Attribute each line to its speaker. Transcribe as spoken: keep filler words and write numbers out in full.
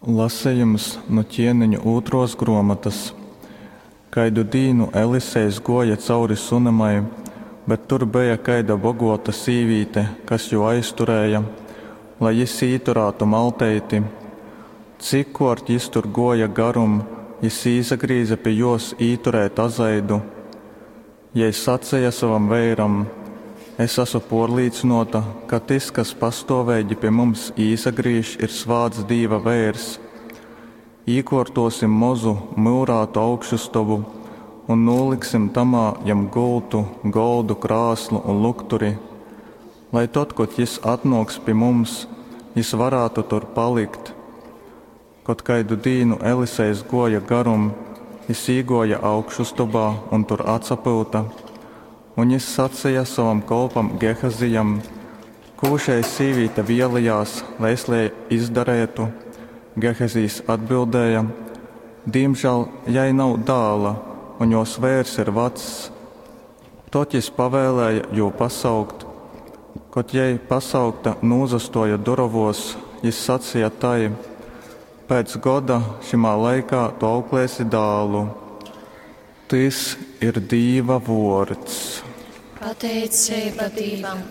Speaker 1: Lasejums nu Ķieniņu ūtruos gruomotys. Kaidu dīnu Elisejs guoja cauri Sunemai, bet tur beja kaida boguota sīvīte, kas jū aizturēja, lai jis īturātu malteiti. Cikkuort jis tur guoja garum, jis īsagrīze pi juos īturēt azaidu. Jei saceja sovam veiram, Es asu puorlīcynuota, ka tys, kas pastuoveigi pi mums īsagrīž, ir svāts Dīva veirs. Īkuortuosim mozu myurātu augšustobu un nūliksim tamā jam gultu, goldu, krāslu un lukturi, lai tod, kod jis atnuoks pi mums, jis varātu tur palikt. Kod kaidu dīnu Elisejs guoja garum, jis īguoja augšustobā un tur atsapyuta. Un jis saceja sovam kolpam Gehazijam: Kū šei sīvīte vielejās, lai es jai izdarētu? Gehazijs atbildēja: Dīmžāl jai nav dāla, un juos veirs ir vacs. Tod jis pavēlēja jū pasaukt. Kod jei pasaukta nūsastuoja durovuos, jis saceja tai: Pēc goda šymā laikā tu auklēsi dālu. Tys ir Dīva vuords.
Speaker 2: Pateiceiba Dīvam.